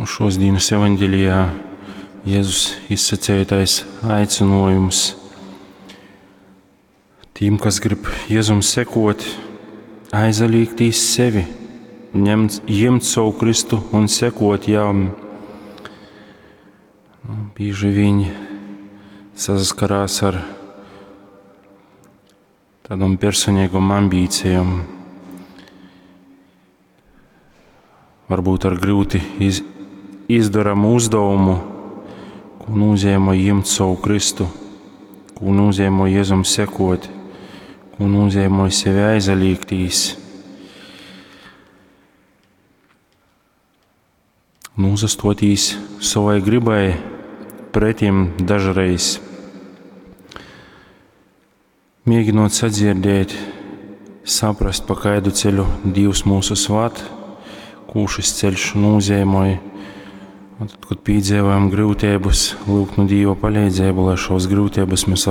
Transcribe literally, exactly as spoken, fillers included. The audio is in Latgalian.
Un šos dienas evaņģelijā Jēzus izsaceitais aicinājums tiem, kas grib Jēzum sekot, aizliegtīs sevi, ņemt, ņemt savu Kristu un sekot jam. Nu, bieži viņi saskarās ar tādām personīgām ambīcijām, varbūt ar grūti iz, izdaramu uzdevumu, ko nozīmē ņemt savu Kristu, ko nozīmē Jēzum sekot, ko nozīmē sevi aizliegtīs. Nūzastotīs savai gribai pretim dažreiz, mēģinot sadzirdēt, saprast, pa kaidu ceļu Dievs mūsu svat, ko šis ceļš nozīmē. Un tad, kad piedzīvojam grūtības, lūgt no Dieva palīdzību, lai šos grūtības mēs varam